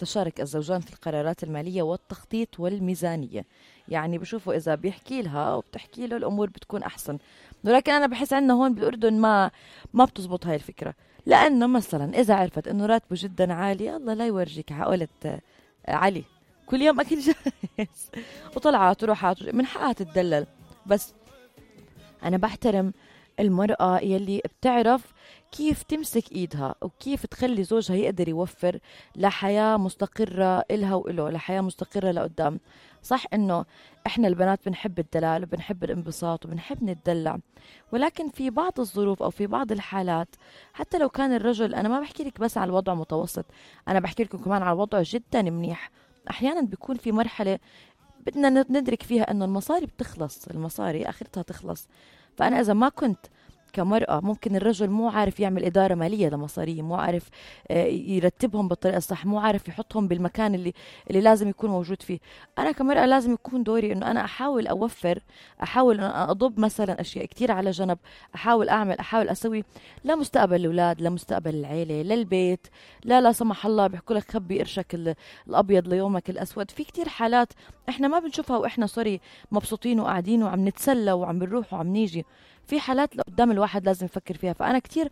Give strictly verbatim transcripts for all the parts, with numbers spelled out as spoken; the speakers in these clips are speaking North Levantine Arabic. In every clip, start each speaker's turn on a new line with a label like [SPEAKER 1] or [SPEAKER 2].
[SPEAKER 1] تشارك الزوجان في القرارات المالية والتخطيط والميزانية. يعني بشوفوا إذا بيحكي لها وبتحكي له الأمور بتكون أحسن. ولكن أنا بحس عنا هون بالأردن ما ما بتزبط هاي الفكرة، لأنه مثلا إذا عرفت إنه راتبه جدا عالي، الله لا يورجيك عقلة علي كل يوم أكل جاهز وطلعات وروحات من حقها تتدلل. بس أنا بحترم المرأة يلي بتعرف كيف تمسك إيدها وكيف تخلي زوجها يقدر يوفر لحياة مستقرة إلها وإله، لحياة مستقرة لقدام. صح إنه إحنا البنات بنحب الدلال وبنحب الانبساط وبنحب نتدلع، ولكن في بعض الظروف أو في بعض الحالات حتى لو كان الرجل، أنا ما بحكي لك بس على الوضع متوسط، أنا بحكي لكم كمان على الوضع جدا منيح. أحيانا بيكون في مرحلة بدنا ندرك فيها إنه المصاري بتخلص، المصاري آخرتها تخلص. فأنا إذا ما كنت كمرأة، ممكن الرجل مو عارف يعمل إدارة مالية لمصاريه، مو عارف يرتبهم بالطريقة الصح، مو عارف يحطهم بالمكان اللي اللي لازم يكون موجود فيه. أنا كمرأة لازم يكون دوري إنه أنا أحاول أوفر، أحاول أن أضب مثلا أشياء كتير على جنب، أحاول أعمل أحاول أسوي لمستقبل الأولاد، لمستقبل العيلة، للبيت. لا لا سمح الله بيحكوا لك خبي قرشك الأبيض ليومك الأسود. في كتير حالات إحنا ما بنشوفها وإحنا سوري مبسوطين وقاعدين وعم نتسلى وعم بنروح وعم نيجي. في حالات لقدام الواحد لازم يفكر فيها. فأنا كتير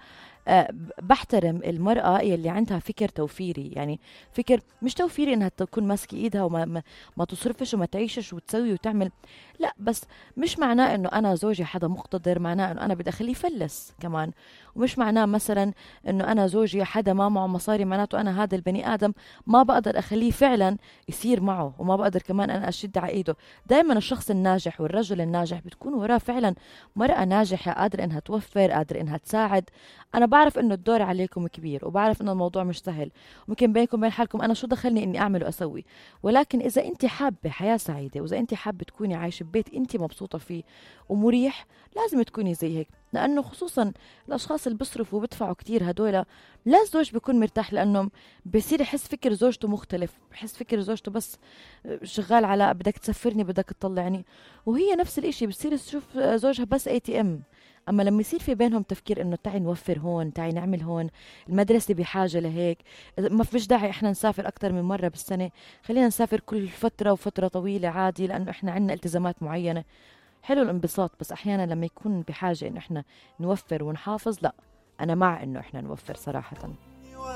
[SPEAKER 1] أه بحترم المرأة يلي عندها فكر توفيري، يعني فكر مش توفيري انها تكون ماسكة ايدها وما ما, ما تصرفش وما تعيشش وتسوي وتعمل، لا، بس مش معناه انه انا زوجي حدا مقتدر معناه انه انا بدي اخليه يفلس كمان. ومش معناه مثلا انه انا زوجي حدا ما معه مصاري معناته انا هذا البني ادم ما بقدر اخليه فعلا يصير معه، وما بقدر كمان انا اشد على ايده. دائما الشخص الناجح والرجل الناجح بتكون وراه فعلا مرأة ناجحة قادرة انها توفر، قادرة انها تساعد. انا بعرف انه الدور عليكم كبير وبعرف انه الموضوع مش سهل، ممكن بينكم بين حالكم انا شو دخلني اني اعمل واسوي. ولكن اذا انت حابة حياة سعيدة، واذا انت حابة تكوني عايشة ببيت انت مبسوطة فيه ومريح، لازم تكوني زي هيك. لانه خصوصا الاشخاص اللي بيصرفوا وبيدفعوا كتير هدول، لا الزوج بيكون مرتاح، لانه بصير يحس فكر زوجته مختلف، بحس فكر زوجته بس شغال على بدك تسفرني بدك تطلعني، وهي نفس الاشي بتصير تشوف زوجها بس اي تي ام. اما لما يصير في بينهم تفكير انه تعي نوفر هون، تعي نعمل هون، المدرسه بحاجه لهيك، ما فيش داعي احنا نسافر اكثر من مره بالسنه، خلينا نسافر كل فتره وفتره طويله عادي لانه احنا عندنا التزامات معينه. حلو الانبساط، بس احيانا لما يكون بحاجه انه احنا نوفر ونحافظ، لا، انا مع انه احنا نوفر صراحه.